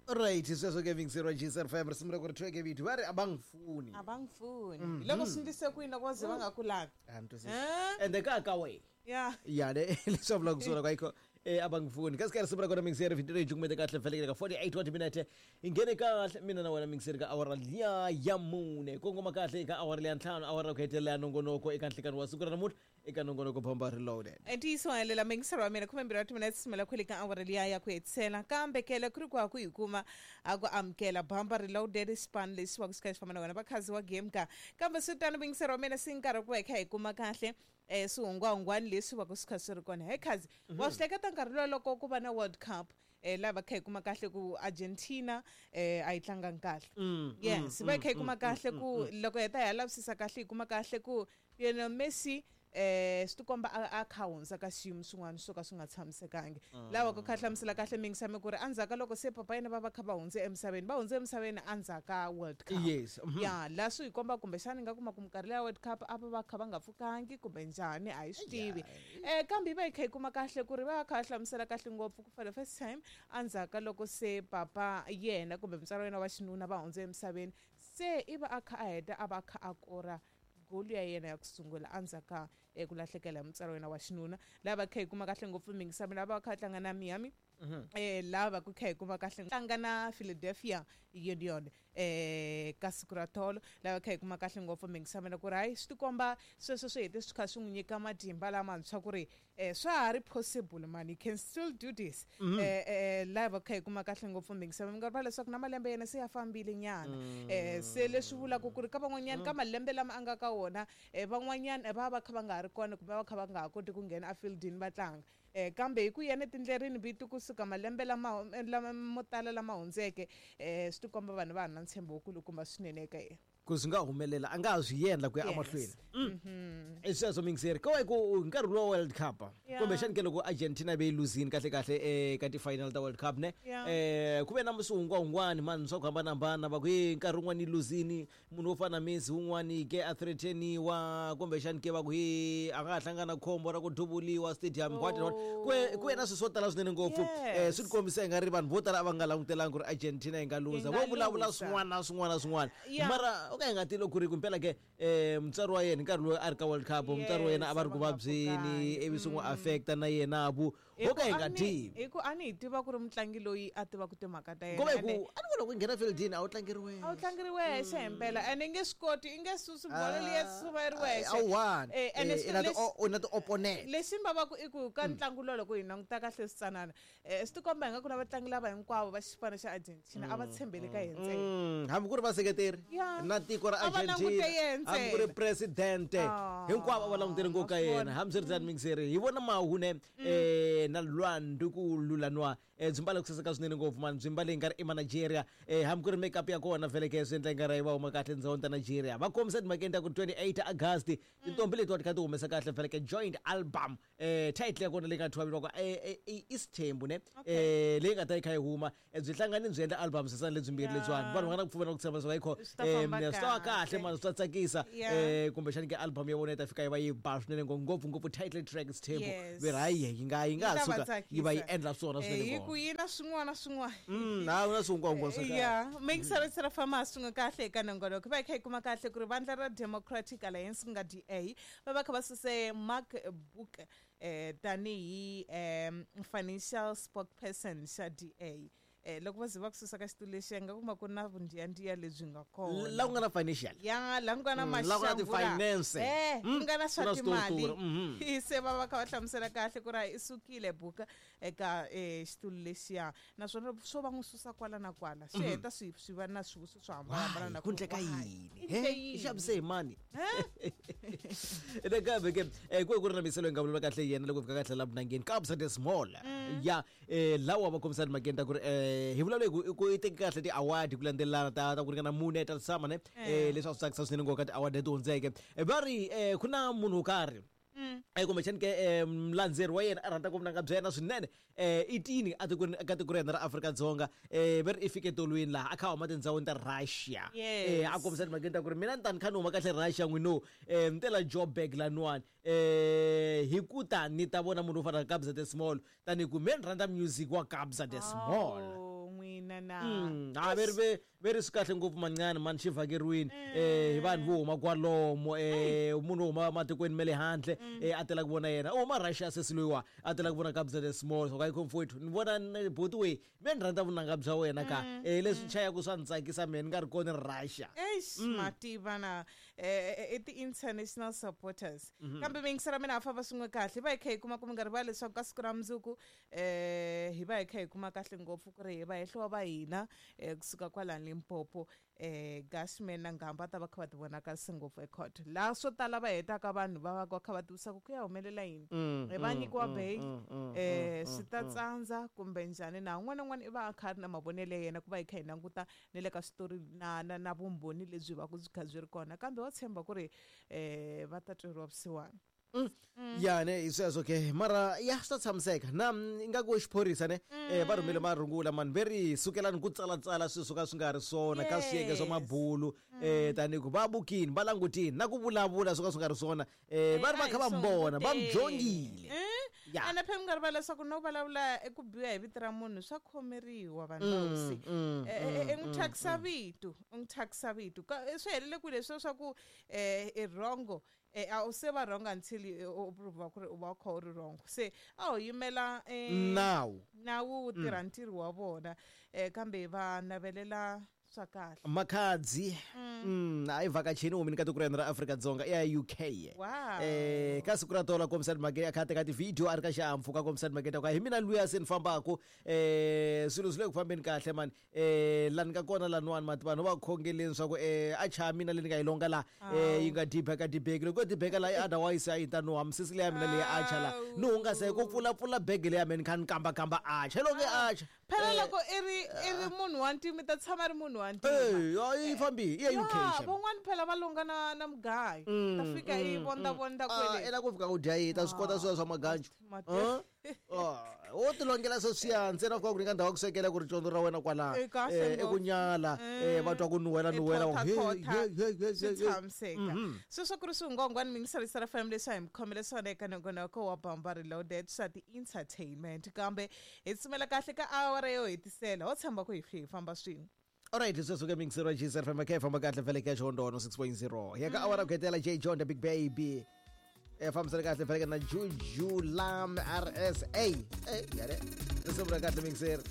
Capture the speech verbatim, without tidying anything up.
Right, sweswo ke vingiseriwa G S F M risimu ra ku ri thweke vito va ri abangifuni. Abangifuni. Loko swi ndlise ku yini loko va ze va nga ku lavi? A ni twisisi. Ende ka ka we. Yeah. Ya ne leswi vulaka swona ka yikho eh abangifuni. Kasi ka risimu ra kona mingiseri vito leyi jumete kahle vhele ka forty-eight wa timinete. Ingene kahle mina na wena mingiseri ka awara liya ya mune. Kongoma kahle eka awara liya ntlhanu awara ku hetelela nongonoko eka nhlikani wa siku ra namuntlha eka nongonoko Bamba Reloaded. Ntiyiso helela mingiseri wa mina khume mbirhi wa timinete simela khwele ka awara liya ya ku hetisela kambe kele ku ri ku ku hi kuma a ku amukela Bamba Reloaded span leswi wa ku swi famba na wena vakhazi wa game ka kambe swi tano mingiseri wa mina si nkarhi ku va hi kha hi kuma kahle eh swihungwahungwani leswi va ku swi kha swi ri kona. He khazi wa swi hleketa nkarhi lowu loko ku va na World Cup eh lava kha hi kuma kahle ku Argentina eh a yi tlangangi kahle. Yes, va kha hi kuma kahle ku loko heta hi lavisisa kahle hi kuma kahle ku Lionel Messi eh swi tikomba a kha hundza ka xiyimo swin'wana swo ka swi nga tshamisekangi. Lava ku kha hlamusela kahle mingisame ku ri endzhaku loko se papa yena va va kha va hundze emisaveni va hundze emisaveni endzhaku ka World Cup. Yes. Ya la swi hi komba kumbexana nga kuma ku minkarhi ya World Cup a va va kha va nga pfukangi kumbe njhani a hi swi tivi. Eh kambe va hi kha hi kuma kahle ku ri va kha hlamusela kahle ngopfu ku for the first time endzhaku loko se papa yena kumbe mutswari wa yena wa xinuna va hundze emisaveni se i va a kha a heta a va kha a kora goli ya yena ya ku sungula endzhaku ka ku lahlekela hi mutswari wa yena wa xinuna. Lava kha hi kuma kahle ngopfu mingisami lava kha tlanga na Miami eh lava ku kha hi kuma kahle tlanga na Philadelphia Union eh ka siku ra tolo lava kha hi kuma kahle ngopfu mingisami ku ri hayi swi tikomba sweswo swi hete swi kha swi n'wi nyika matimba lamantshwa ku ri eh swa ha ri possible man, you can still do this. Eh eh lava kha hi kuma kahle ngopfu mingisami mi nga rivala leswaku na malembe yena se ya fambile nyana eh se leswi vulaka ku ri ka van'wanyana ka malembe lama a nga ka wona eh van'wanyana va va kha va nga ha ri kona kumbe va kha va nga ha koti ku nghena efieldini va tlanga. Eh kambe hi ku yena tindlerini vito kusuka malembe lama lama mo tala lama hundzeke eh swi tikomba vanhu va na ntshembo wukulukumba swinene eka yena ku swi nga humelela a nga ha swi endla ku ya emahlweni. I sweswo mingiseri ko ku nkarhi lowa World Cup kumbexani ke loko Argentina ve yi luzini kahle kahle eka ti-final ta World Cup ne eh ku ve na swihungwahungwani mani swa ku hambanahambana va ku hi nkarhi wun'wani yi luzini munhu wo fana na Messi wun'wani ke a threateniwa kumbexani ke va ku hi a nga ha hlangana khombo ra ku duvuliwa stadium what not ku ve na swilo swo tala swinene ngopfu eh swi tikombisa hi nga ri vanhu vo tala a va nga langutelangi ku ri Argentina yi nga luza vo vulavula swin'wana na swin'wana na swin'wana mara ka hi nga tilo ku ri kumpela ke eh mutswari wa yena nkarhi lowu a ri ka World Cup mutswari wa yena a va ri ku vabyeni ivi swi n'wi affecta na yena vu ho ka hi nga tivi hi ku a ni hi tiva ku ri mutlangi loyi a tivaka timhaka ta yena ku va ku a ni vona ku nghena fieldini a wu tlangeri wexe a wu tlangeri wexe himpela ene i nge swi koti i nge susi bolo liya suva yi ri wexe a wu one u na ti-opponent. Lexi ni vavaka i ku ka ntlangu lowu loko hi languta kahle switsanana swi tikomba hi nga ku na vatlangi lava hinkwavo va xipano xa Argentina a va tshembele ka yena ntsena hambi ku ri vaseketeri na tiko ra Argentina hambi ku ri presidente hinkwavo a va langutele ngopfu ka yena. Hambiswiritano mingiseri hi vona mahune eh na lwandu ku lulanwa byi mbale ku saseka swinene ngopfu mani byi mbale hi nga ri i ma Nigeria eh hambi ku ri makeup ya kona vhele ke swi endla nga ri va huma kahle tindhawini ta Nigeria. Va kombisa timhakeni ta ku twenty-eight August tintombi leti wa ti kha ti humesa kahle vhele ke joint album eh title ya kona leyi nga thyiwa vitiwaka i Isithembu ne eh leyi nga ta yi kha yi huma byi hlangane byi endla album sesana lebyimbirhi lebyiwani vanhu va nga na ku pfumela ku tshemba leswaku ayikho swi ta va kahle mani swi ta tsakisa eh kumbexani ke album ya vona yi ta fika yi va yi ba swinene ngopfu ngopfu title track Isithembu ve ri hayi yi nga yi nga ha suka yi va yi endla swona swinene hi ku yi na swin'wana swin'wana ha na swihungwahungwa swa ya mingiseri fama swin'we kahle eka nongonoko va hi kha hi kuma kahle ku ri vandla ra Democratic Alliance ku nga D A va va kha va suse Mark Book eh tanihi financial spokesperson xa D A. Eh loko va ze va ku susa ka xitulu lexi nga kuma ku na vundiyandiya lebyi nga kona la ku nga na financial ya la ku nga na la ku finance eh ku nga na swa timali se va va kha va hlamusela kahle ku ri i sukile buka eka xitulu lexiya naswona swo va n'wi susa kwala na kwala swi heta swi swi va na swivutiso swo hambanahambana na ku ndleka yini he i xavise hi mani nakambe ke ku ku ri na miselo yi nga vulavula kahle yena loko fika kahle la vunangeni Kabza De Small ya lawa va kombisa timhakeni ta ku ri hi vulavula hi ku i teke kahle ti-award ku landzelelana ta ta ku ringana mune ta tshama ne eh leswi a swi tsakisa swinene ngopfu ka ti-award leti hundzeke va ri ku na munhu wo karhi eh kumbexani ke mulandzeri wa yena a rhandza ku vunanga bya yena swinene eh i tini a tikweni ka tiko ra yena ra Afrika-Dzonga eh va ri i fike tolweni laha a kha a huma tindhawini ta Russia eh a kombisa timhakeni ta ku ri mina ni ta ni kha ni huma kahle Russia n'wino eh ni tela Joburg laniwani eh hi ku ta ni ta vona munhu wo fana na Kabza De Small tanihi ku me ni rhandza music wa Kabza De Small. hina na Mm, ha ve ri ve ve ri swi kahle ngopfu manqani mani xi vhakeriwini eh hi vanhu vo huma kwalomo eh munhu wo huma matikweni ma le handle eh a tela ku vona yena u huma Russia sesi loyiwa a tela ku vona Kabza De Small so ka comfort ni vona ni buti we me ni rhandza vunanga bya wena ka eh leswi chayaka swa ni tsakisa mehe ni nga ri kona Russia. Eish mativa na eh, i ti-international supporters. Kambe miyingisela mina ha famba swin'we kahle hi va hi kha hi kuma ku mi nga rivali leswaku ka siku ra mundzuku eh hi va hi kha hi kuma kahle ngopfu ku ri hi va hehliwa va hina eh kusuka kwalani Limpopo eh Gashman na Ngamba ta va kha va ti vonakarisa ngopfu ecourt laha swo tala va hetaka vanhu va va va kha va tivisa ku ku ya humelela yini eh va nyikiwa bail eh swi ta tsandza kumbe njhani na un'wana na un'wana i va a kha a ri na mavonelo ya yena ku va hi kha hi languta ni le ka switori na na na vumbhoni lebyi va ku byi kha byi ri kona kambe wa tshemba ku ri eh va ta tweriwa vusiwana. Ya ne hi sweswo ke mara ya swi ta tshamiseka na ingaku xiphorisa ne eh va rhumele marungula mani ve ri sukelani ku tsalatsala swilo swo ka swi nga ri swona ka swiyenge swa Yes. mabulu eh tanihi ku va bukini va langutini na ku vulavula swo ka swi nga ri swona eh va ri va kha va mi vona va mi dyongile. Ya. Ene phela mi nga rivali leswaku no vulavula eku biha hi vito ra munhu swa khomeriwa vanhu va hosi. Eh, eh, i n'wi thyakisa vito u n'wi thyakisa vito Ka- eh, swi helele kwihi leswiya swa ku eh i wrong eh a wu se va wrong until u prove ku ri u va u kha u ri wrong se a ho yimela eh Nawu nawu wu tirha ntirho wa vona eh kambe va navelela swa kahle. Makhadzi mm a yi vhakachini humini ka tiko ra hina ra Afrika-Dzonga i ya U K. Wow. Eh ka siku ra tolo kombisa Makete a kha a teka ti-video a ri ka xihahampfhuka kombisa Makete ka hi mina luya se ni fambaku eh swilo swi le ku fambeni kahle mani eh la ni nga kona laniwani mati vanhu va khongeleni swa ku eh a cha mina leyi ni nga yi longa la eh yi nga dibeka dibeki loko yo dibeka la otherwise a yi ta nuha misisi leya mina leyi a cha la ni hungasa hi ku pfulapfula bege leya mina ni kha ni kambakamba a cha longe a cha. Phela loko i ri i ri munhu wa ntima i ta tshama ri munhu wa ntima. Eh yi fambi i ya U K Ya, xa. van'wani phela va longa na na mugayo ta fika i vonda vonda Ah, kwele. i la ku fika ku dya yi ta swi kota swilo swa maganjo. Mati- Ah, wo ti longela sweswiya ntsena fika ku nyika ndhawu ya ku swekela ku ri condzo ra wena kwalaho Eh, kahle Eh, i ku ngopfu. nyala eh va twa ku nuhela I nuhela thotha hey, thotha, hey, hey, hey, swi hey, hey. tshamiseka sweswo ku ri swihungwangwani mingisarisa ra fm leswi a hi mi khomele swona eka nongonoko wa Bamba Reloaded swa ti-entertainment kambe hi tsumela kahle ka awara yo hetisela ho tshemba ku hi hi famba swin'we. Alright, sweswo ke mingiseri wa G S F M khe famba kahle vhele ka Xihondono six point zero. Ya ka awara ku hetela J John the Big Baby. Eh fambisana kahle vhele ka na Juju Lam R S A. Eh yare. Risimu ra kahle mingiseri.